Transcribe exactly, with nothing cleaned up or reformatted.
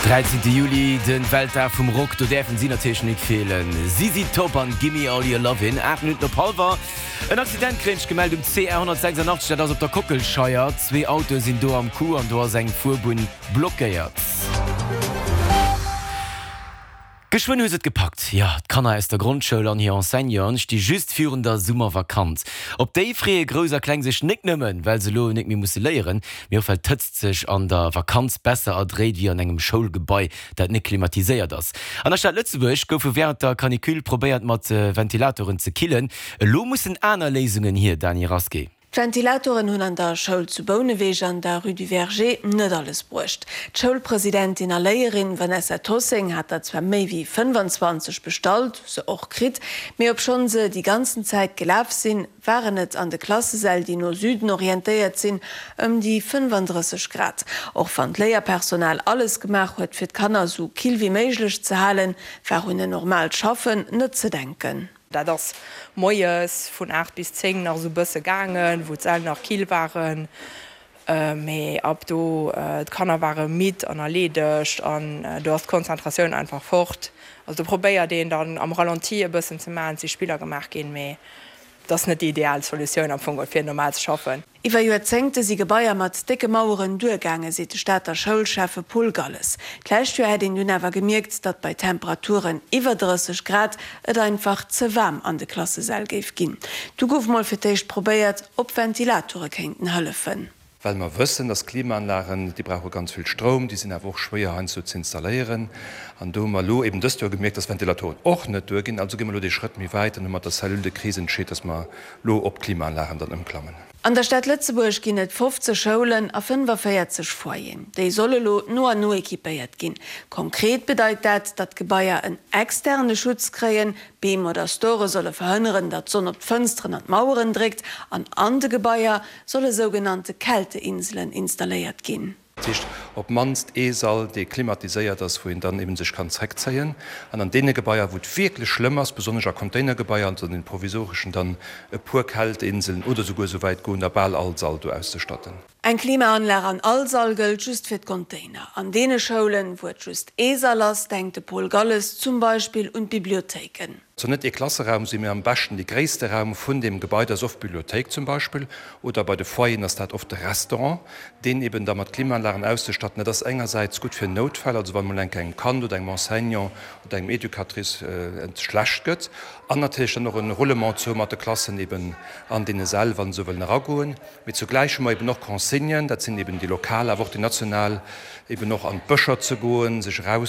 Dräizéngte Juli, de Weltdag vum Rock, do däerfen si natierlech nik feelen. Z Z Top an Gimme All Your Lovin'. Aacht Minutten op hallwer. En Accident kréien ech gemellt um C R honnertsechsundachtzeg, dat ass op der Kockelscheier. Zwee Autoe sinn do am Coup an do ass eng Fuerbunn blockéiert. Geschwënn hu se et gepackt, jo, d'Kanner aus der Grondschoul an hir Enseignanten sti just virun der Summervakanz. Op déi freeë Grouss a Kleng sech nik nëmmen, well se elo nik méi musse léieren, mee och well d'Hëtzt sech an der Vakanz besser erdréit wéi an engem Schoulgebai, dat nik klimatiséiert ass. An der Stad Lëtzebuerg goufe wärend der Canicule probéiert mat Ventilatoren ze killen. Elo mussen aner Léisungen hier, Dany Rasqué. D'Ventilatoren hunn an der Schoul zu Bouneweg an der Rue du Verger net alles bruecht. D'Schoulpresidentin a Léierin Vanessa Tossing hat der zwar méi wéi fënnefanzwanzeg bestallt, se och kritt, mee obschonn se déi ganzen Zäit gelaf sinn, waren et an de Klassesäll, déi no Süden orientéiert sinn, ëm déi fënnefandrësseg Grad. Och wann d'Léierpersonal alles gemaach huet, fir d'Kanner sou kill wéi méiglech ze halen, war un en normaalt Schaffen net ze denken. Dat ass moies vun aacht bis zéng nach esou bësse gaangen, wou d'Säll nach kill waren, mee ab do, d'Kanner ware midd an erleedegt an do ass d'Konzentratioun einfach fort. Also do probéiert een dann am Ralenti e bëssen ze maachen, et si Spiller gemaach ginn, mee et ass net déi ideal Solutioun am Fong fir normal ze schaffen. Iwwer Joerzéngte si Gebaier mat décke Maueren duergaangen, seet de Stater Schoulschäffe Paul Galles. D'lescht Joer hätt een dunn awer gemierkt, datt bei Temperaturen iwwer drësseg Grad et einfach ze waarm an de Klassesäll géif ginn. Du gouf mol fir d'éischt probéiert, ob Ventilatore kéinten hëllefen. Well mer wëssen, dass Klimaanlagen, déi brauche ganz vill Stroum, déi sinn awer och schwéier heiansdo ze installéieren. An do hu mer elo eben dëst Joer gemierkt, dass Ventilatoren och net duerginn. Also gi mer elo dee Schrëtt méi wäit an hu mat der Cellule de crise entscheet, dass mer elo op Klimaanlagen dann ëmklammen. An der Stad Lëtzebuerg ginn et fofzeg Schoulen a fënnefaféierzeg Foyeren. Déi solle lo no an no equipéiert ginn. Konkret bedeit dat, datt d'Gebaier en externe Schutz kréien, Beem oder Store solle verhënneren, datt d'Sonn op d'Fënsteren an d'Maueren dréckt an an de Gebaier solle sougenannte Kälteinselen installéiert ginn. Dat heescht, op d'mannst ee Sall, dee klimatiséiert ass, wou een dann eben sech kann zréckzéien. An an deene Gebaier, wou et wierklech schlëmm ass, besonnesch a Containergebaier, also an den provisoreschen, dann e puer Kälteinseln oder souguer esou wäit goen, da bal all Sall do auszestatten. Eng Klimaanlag an all Sall gëllt just fir d'Container. An deene Schoulen, wou et just ee Sall ass, denkt de Paul Galles zum Beispill un d'Bibliothéiken. Et soll net ee Klasseraum sinn, mee am beschten dee gréisste Raum vun deem Gebai, dat ass oft d'Bibliothéik zum Beispill, oder bei de Foyeren ass dat oft de Restaurant, deen eben da mat Klimaanlagen auszestatten. Dat ass engersäits gutt fir Noutfäll, also wann emol eng Kéier engem Kand oder engem Enseignant oder engem Educatrice et schlecht gëtt, an natierlech dann och e Roulement ze hu mat de Klassen eben an deene Säll, wa se wëllen eragoen. Mee zugläich hu mer eben och Consignen, dat sinn eben déi lokal, awer och déi national, eben och an d'Bëscher ze goen, sech eraus.